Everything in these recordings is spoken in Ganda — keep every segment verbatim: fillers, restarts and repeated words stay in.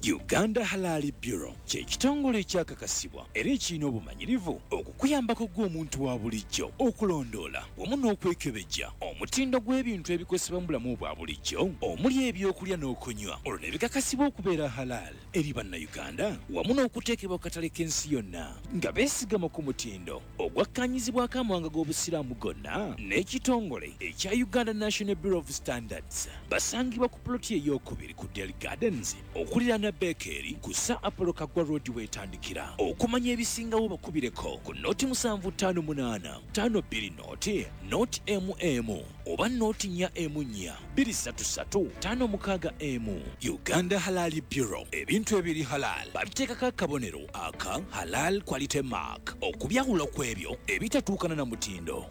Uganda Halal Bureau kye kitongole ekyakakasibwa era ekirina obumanyirivu okukuyambako ggwe omuntu wa bulijjo okulondoola wamu n'okwekebejja omutindo gw'ebintu ebikozesebwa mu bulamu bwa bulijjo omuli ebyokulya n'okunywa, olwo ne bikakasibwa okubeera halal eri Bannayuganda wamu n'okuteekebwa ku katale k'ensi yonna nga beesigama ku mutindo ogwakkaanyizibwako amawanga g'Obusiraamu gonna n'ekitongole ekya Uganda National Bureau of Standards. Basangibwa ku puloti ey'okubiri ku Del Gardens okuliraana Bekeeri ku Sir Apollo Kaggwa Road weetandikira. Okumanya ebisingawo bakubireko ku noti musanvu ttaano munaana ttaano bbiri noti noti emu emu oba noti nnya emu nnya bbiri ssatu ssatu ttaano mukaaga emu. Uganda Halal Bureau, ebintu ebiri halal babiteekako akabonero aka Halal Quality Mark okubyawula ku ebyo ebitatuukana na mutindo.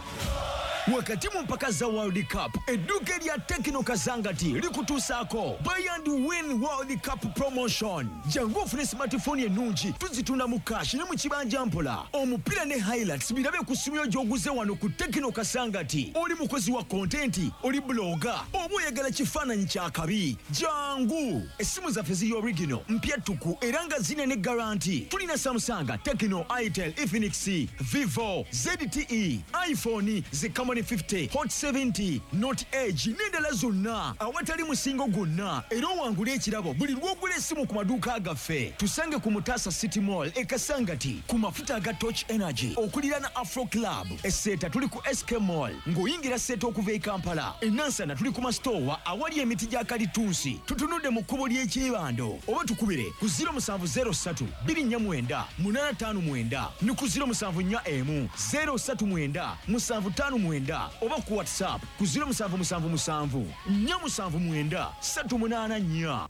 Wakati mu mpaka za World Cup, edduuka erya Tecno Kasangati likutuusaako Buy and Win World Cup Promotion. Jangu ofune smartphone ennungi, tuzitunda mu cash ne mu kibanja mpola. Omupiira ne highlights birabe ku ssimu yo gy'oguze wano ku Tecno Kasangati. Oli mukozi wa content, oli blogger, oba oyagala kifaananyi kya kabi, jangu. Essimu zaffe ziri original, mpya ttuku era nga zirina ne guarantee. Tulina Samsung, Tecno, Itel, Infinix, Vivo, Z T E, iPhone, ze Camon fifty, Hot seventy, Note Edge n'endala zonna awatali musingo gwonna, era owangula ekirabo buli lw'ogula essimu ku maduuka gaffe. Tusange ku Mutasa City Mall e Kasangati ku mafuta aga Torch Energy okuliraana Afro Club. Eseeta tuli ku S K Mall ng'oyingira Seeta okuva e Kampala. Enansana tuli ku masitoowa awali emiti gya kalitunsi, tutunudde mu kkubo ly'ekyebando, oba tukubire ku zero musanvu zero ssatu bbiri nnya mwenda munaana ttaano mwenda ne ku zero musanvu nnya emu zero ssatu mwenda musanvu ttaano mwenda, oba ku WhatsApp ku zero musanvu musanvu musanvu nnya musanvu mwenda ssatu munaana nnya.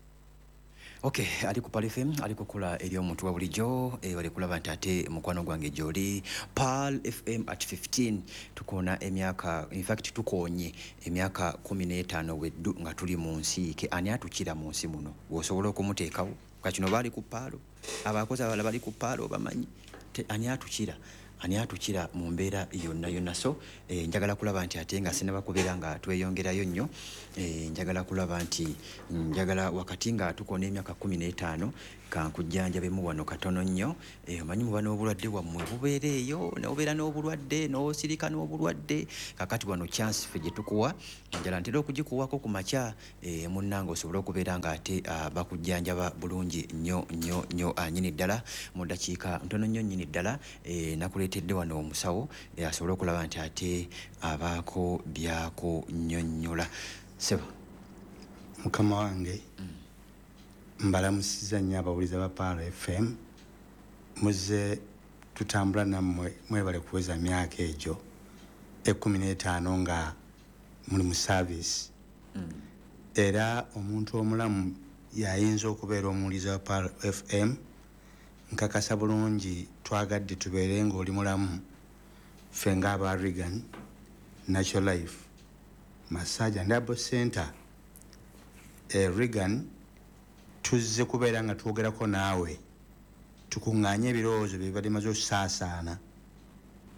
Ok, ali ku Pearl F M, ali kukola eri omuntu wa bulijjo. eh, bali kulaba nti ate mukwano gwange gyoli. Pearl F M at fifteen, tukoona emyaka, in fact tukoonye emyaka kumi n'etaano weddu nga tuli mu nsi ke. Ani atukira mu nsi muno bw'osobola okumuteekawo? Kakino baali ku Pearl, abakozi abalala bali ku Pearl bamanyi. Te- ani atukira, ani atukira mu mbeera yonna yonna? So eh, njagala kulaba nti ate nga sinaba kubeera nga tweyongerayo nnyo, eh, njagala kulaba nti njagala wakati nga tukona emyaka kumi n'etaano kankujjanjabemu wano katono nnyo. eh, omanyi muba n'obulwadde bwammwe bubeera eyo, nobeera n'obulwadde n'osirika n'obulwadde. Kakati wano chance ffe gye tukuwa, njala ntera okugikuwako ku makya, eh, munnange osobole okubeera nga ate ah, bakujjanjaba bulungi nnyo nnyo nnyo, ah, nnyini ddala mu ddakiika ntono nnyo nnyini ddala. eh, nakuleetedde wano omusawo eh, asobole okulaba nti ate abaako byakunyonnyola. Sebo. Mukama wange, mbalamusiza nnyo abawuliza ba Pearl F M. Muzze tutambula nammwe, mwebale kuweza myaka egyo ekkumi n'etaano nga muli mu service. Era omuntu omulamu yayinza okubeera omuwuliza wa Pearl F M. Nkakasa bulungi twagadde tubeere ng'oli mulamu. Ffe ng'aba Regan Natural Life Massage and Herbal Center e Regan, tuzze kubeera nga twogerako naawe, tukuŋŋaanye ebirowoozo bye bibadde maze okusaasaana,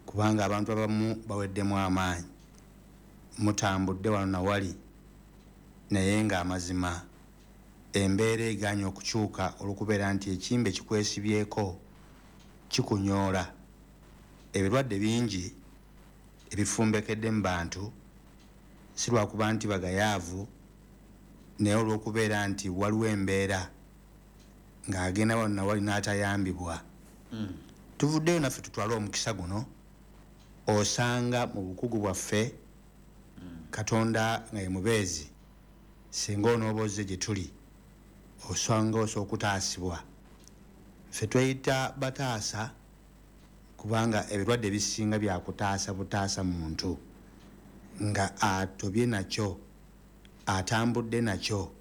kubanga abantu abamu baweddemu amaanyi. Mutambudde wano nawali, naye ng'amazima embeera egaanye okukyuka olw'okubeera nti ekimbe kikwesibyeko, kikunyoola. Ebirwadde bingi ebifumbekedde mu bantu, si lwakuba nti bagayaavu, naye olw'okubeera nti waliwo embeera ng'agenda wano nawali n'atayambibwa. Tuvuddeyo naffe tutwale omukisa guno, osanga mu bukugu bwaffe Katonda nga ye mubeezi, singa onooba ozze gye tuli, osanga osobola okutaasibwa. Ffe tweyita bataasa, kubanga ebirwadde ebisinga byakutaasa butaasa muntu nga atobye nakyo, atambudde nakyo.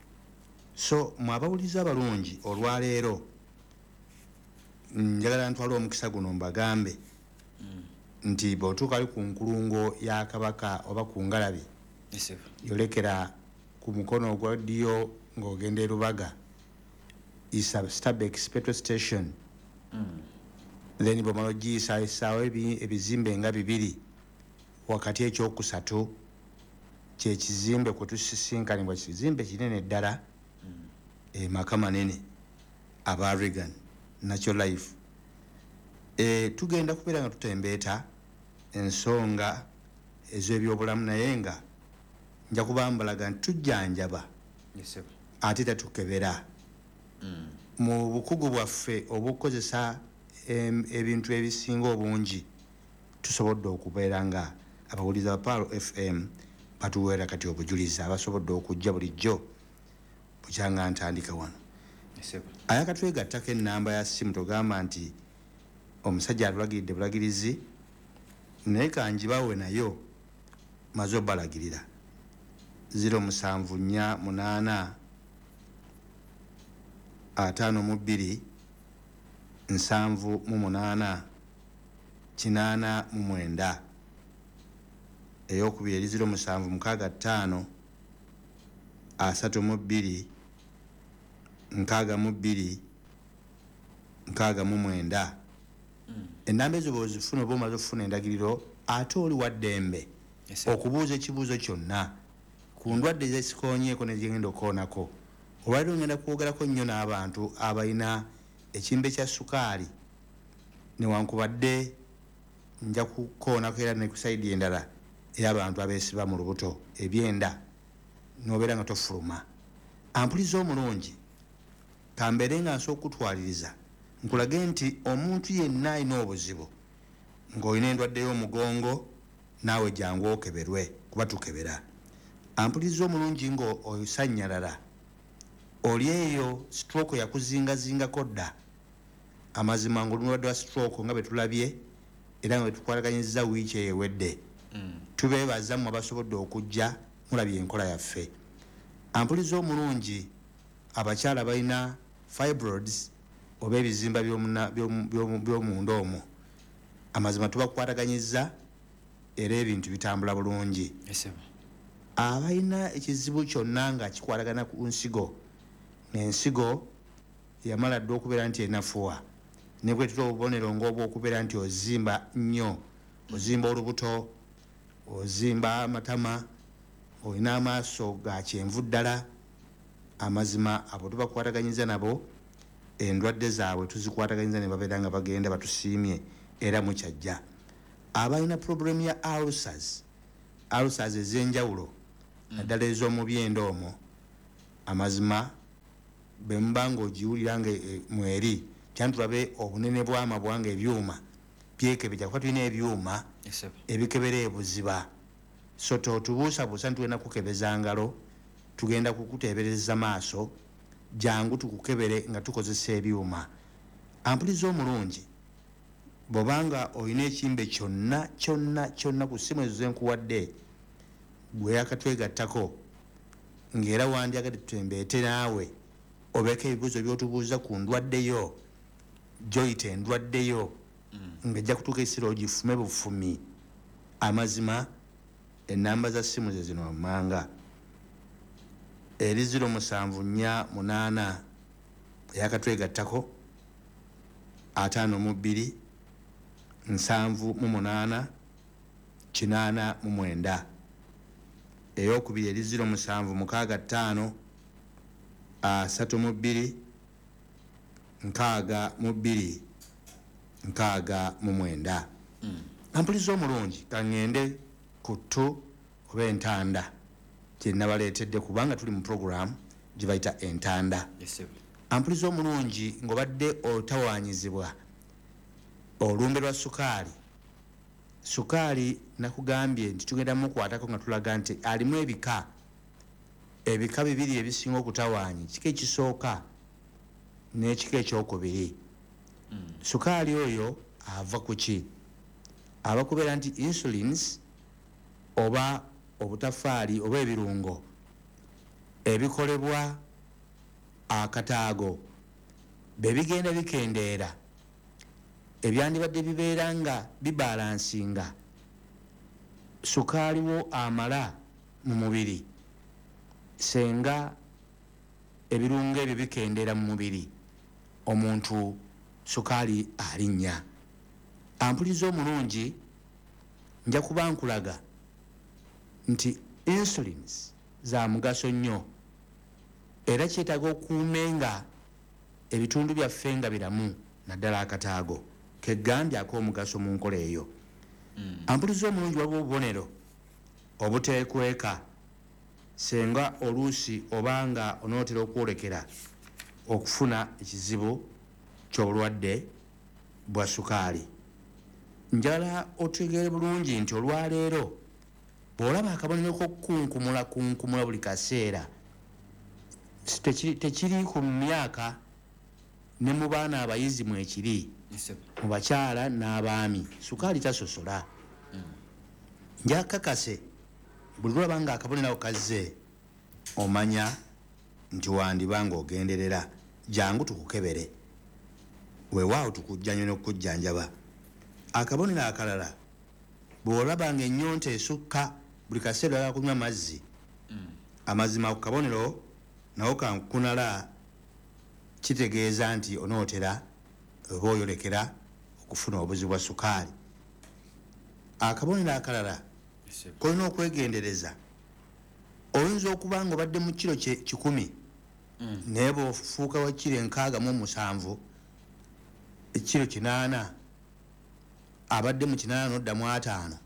So mwe abawuliza abalungi, olwaleero njagala ntwale omukisa guno mbagambe nti bw'otuuka ali ku nkulungo ya Kabaka oba ku Ngalabi, yolekera ku mukono ogwa ddyo ng'ogenda e Rubaga, isa Stabex petrol station, then bwomala ogiyisa esaawo ebizimbe nga bibiri wakati, ekyokusatu kyekizimbe kwe tusisinkanibwa. Kizimbe kinene ddala, emaka manene. aba Reagan Natural Life. E, tugenda kubeera nga tutembeeta ensonga ez'ebyobulamu, naye nga nja kubambalaga nti tujjanjaba ate tatukebera. Mm. Mu bukugu bwaffe obukozesa ebintu ebisinga obungi tusobodde okubeera nga abawuliza ba Pearl F M batuweera kati obujulizi abasobodde okujja bulijjo bukyanga ntandika wano. Ayakatwegattako ennamba ya ssimu togamba nti omusajja atulagiridde bulagirizi, naye kanjibawe nayo maze obbalagirira. Ziro musanvu nnya munaana ataano mu bbiri nsanvu mu munaana kinaana mu mwenda. Eyokubiri eri ziro musanvu mukaaga ttaano asatu mu bbiri nkaaga mu bbiri nkaaga mu mwenda. Ennamba ezo bw'ozifuna oba omaze okufuna endagiriro, ate oli wa ddembe okubuuza ekibuuzo kyonna ku ndwadde ezesikoonyeeko nezigenda okukoonako. Olwaliro ngenda kwogerako nnyo n'abantu abalina ekimbe kya sukaali, newankubadde nja kukoonako era ne ku sayidi endala ey'abantu abeesiba mu lubuto ebyenda n'obeera nga tofuluma. Ampuliza omulungi, kambeere nga nsobola okutwaliriza nkulage nti omuntu yenna alina obuzibu ng'olina endwadde y'omugongo, naawe jangu okeberwe kuba tukebera. Ampuliza omulungi ng'osannyalala, oli eyo stroke yakuzingazingako dda. Amazima ng'oli mulwadde wa stroke nga bwe tulabye era nga bwe tukwataganyizza wiiki eyo ewedde. Mm. Tubeebaza mmwe abasobodde okujja mulabye enkola yaffe. Ampuliza omulungi, abakyala balina fibroids oba ebizimba by'omunda omwo, amazima tubakwataganyizza era ebintu bitambula bulungi. Abalina ekizibu kyonna nga kikwatagana ku nsigo, n'ensigo yamala dda okubeera nti enafuwa, ne bwetula obubonero ng'obwokubeera nti ozimba nnyo, ozimba olubuto, ozimba amatama, olina amaaso ga kyenvu ddala. Amazima abo tubakwataganyiza nabo, endwadde zaabwe tuzikwataganyiza ne babeera nga bagenda batusiimye era mukyajja. Abalina problem ya ulcers, ulcers ez'enjawulo naddala ez'omu byenda omwo, amazima bwe muba ng'ogiwulira nga mweri kyantulabe obunene bw'amabwa nga ebyuma byekebejja, kuba tulina ebyuma ebikebera ebuziba. So totubuusabuusa nti tugenda kukebeza ngalo, tugenda kukuteebereza maaso, jangu tukukebere nga tukozesa ebyuma. Ampuliza omulungi, bw'obanga olina ekimbe kyonna kyonna kyonna ku ssimu ezo ze nkuwadde gwe yakatwegattako, ng'era wandyagadde tutembeete naawe obeeko ebibuuzo by'otubuuza ku ndwaddeyo gy'oyita endwaddeyo, ng'ejja kutuuka ekiseera ogifume bufumi. Amazima ennamba za ssimu ze zino wammanga: eri ziro musanvu nnya munaana eyakatwegattako ataano mu bbiri nsanvu mu munaana kinaana mu mwenda. Eyokubiri eri ziro musanvu mukaaga ttaano asatu mu bbiri nkaaga mu bbiri nkaaga mu mwenda. Ampuliza omulungi, kaŋŋende ku ttu oba entanda kye nabaleetedde, kubanga tuli mu program gye bayita entanda. Ampuliza omulungi, ng'obadde otawaanyizibwa olumbe lwa sukaali. Sukaali nakugambye nti tugenda mukwatako nga tulaga nti alimu ebika ebika bibiri ebisinga okutawaanya, ekika ekisooka n'ekika ekyokubiri. Mm. Sukaali oyo ava ku ki? Aba kubeera nti insulins oba obutafaali oba ebirungo ebikolebwa akataago be bigenda bikendeera, ebyandibadde bibeera nga bibalansinga sukaali wo amala mu mubiri. Senga ebirungo ebyo bikendeera mu mubiri, omuntu sukaali alinnya. Ampuliza omulungi, nja kuba nkulaga nti insulins za mugaso nnyo, era kyetaaga okuume nga Ebitundu byaffe nga biramu, naddala akataago kegambye ak'omugaso mu nkola eyo. Ampuliza omulungi, waliwo obubonero obuteekweka senga oluusi obanga onootera okwolekera okufuna ekizibu ky'obulwadde bwa sukaali. Njagala otegeere bulungi nti olwaleero bw'olaba akabonero k'okukunkumula kunkumula buli kaseera, tekiri, tekiri ku myaka ne mu baana abayizi mwekiri, mu bakyala n'abaami, sukaali tasosola. Njakakase buli lwolaba nga akabonero ako kazze, omanya nti wandiba ng'ogenderera. Jangu tukukebere, weewaawo tukujjanye n'okukujjanjaba. Akabonero akalala, bw'olaba ng'ennyonta esukka buli kaseera oyagala kunywa mazzi, amazima ku kabonero nawo kankunala, kitegeeza nti onootera oba oyolekera okufuna obuzibu bwa sukaali. Akabonero akalala kolina okwegendereza, oyinza okuba nga obadde mu kiro kikumi, naye bw'ofuuka wa kiro enkaaga mu musanvu, ekiro kinaana, abadde mu kinaana n'odda mu ataano,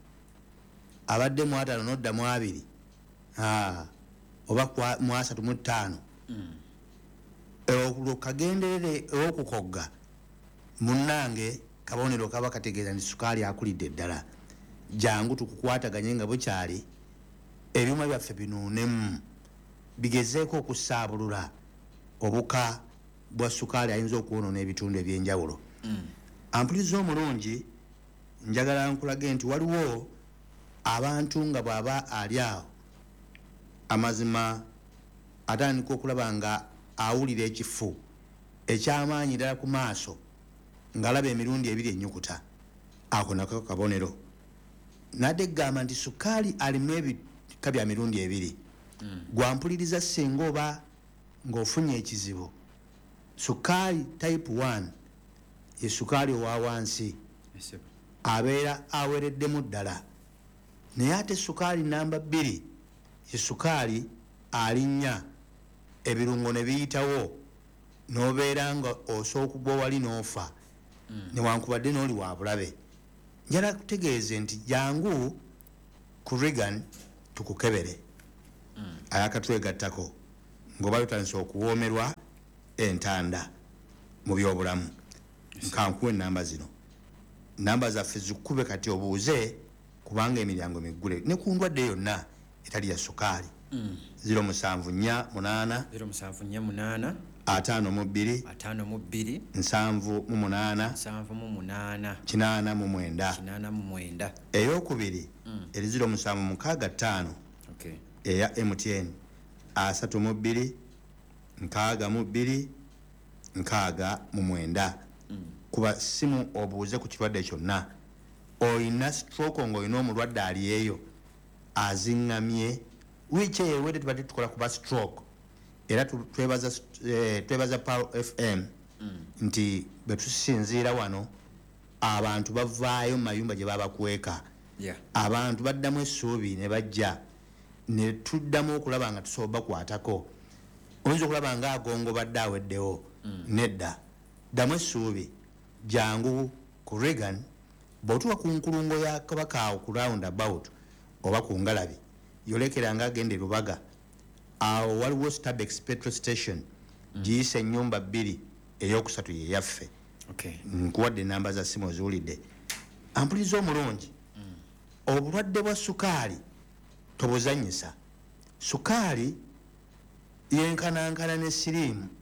abadde mu ataano n'odda mu abiri, oba mu asatu mu ttaano, olwo kagenderere okukogga munnange kabonero kaba kategeeza nti sukaali akulidde ddala. Jangu tukukwataganye nga bukyali, ebyuma byaffe binuunemu bigezeeko okusaabulula obuka bwa sukaali ayinza okwonoona ebitundu ebyenjawulo. Ampuliza omulungi, njagala nkulage nti waliwo abantu nga bw'aba ali awo amazima atandika okulaba nga awulira ekifu ekyamaanyi ddala ku maaso, ng'alaba emirundi ebiri ennyukuta. Ako nako kabonero. Nadde egamba nti sukaali alimu ebika bya mirundi ebiri. Gwampuliriza singa oba ng'ofunye ekizibu, sukaali type one ye sukaali owa wansi, abeera awereddemu ddala. Naye ate sukaali namba bbiri ye sukaali alinnya ebirungo ne biyitawo n'obeera nga osobola okugwa wali n'ofa, newankubadde n'oli wa bulabe. Njagala kutegeeze nti jangu ku Reagan tukukebere. Ayakatwegattako ng'oba tutandise okuwoomerwa entanda mu byobulamu, nkankuwa ennamba zino. Namba zaffe zikube kati obuuze, kubanga emiryango miggule ne ku ndwadde yonna etali ya sukaali. Ziro musanvu nnya munaana, ziro musanvu nnya munaana, ataano mu bbiri, ataano mu bbiri, nsanvu mu munaana, nsanvu mu munaana, kinaana mu mwenda, kinaana mu mwenda. Eyokubiri eri ziro musanvu mukaaga ttaano, eya M T N, asatu mu bbiri, nkaaga mu bbiri, nkaaga mu mwenda. Kuba simu obuuze ku kirwadde kyonna. Oyina stroke ng'olina omulwadde ali eyo aziŋŋamye, wiiki eyo ewedde tubadde tukola kuba stroke, era twebaza twebaza Pearl F M nti bwe tusinziira wano abantu bavaayo mu mayumba gye babakweka, abantu baddamu essuubi ne bajja ne tuddamu okulaba nga tusobola bakwatako. Oyinza okulaba nga agongo badde aweddewo, nedda, ddamu essuubi, jangu ku Reagan. Bw'otuuka ku nkulungo ya Kabaka awo ku round about oba ku ngalabi, yolekera nga agenda e Lubaga, awo waliwo Starbucks petrol station, giyise ennyumba bbiri, eyokusatu ye yaffe. Nkuwadde ennamba za ssimu oziwulidde. Ampuliza omulungi, obulwadde bwa sukaali tobuzannyisa. Sukaali yenkanankana ne siriimu.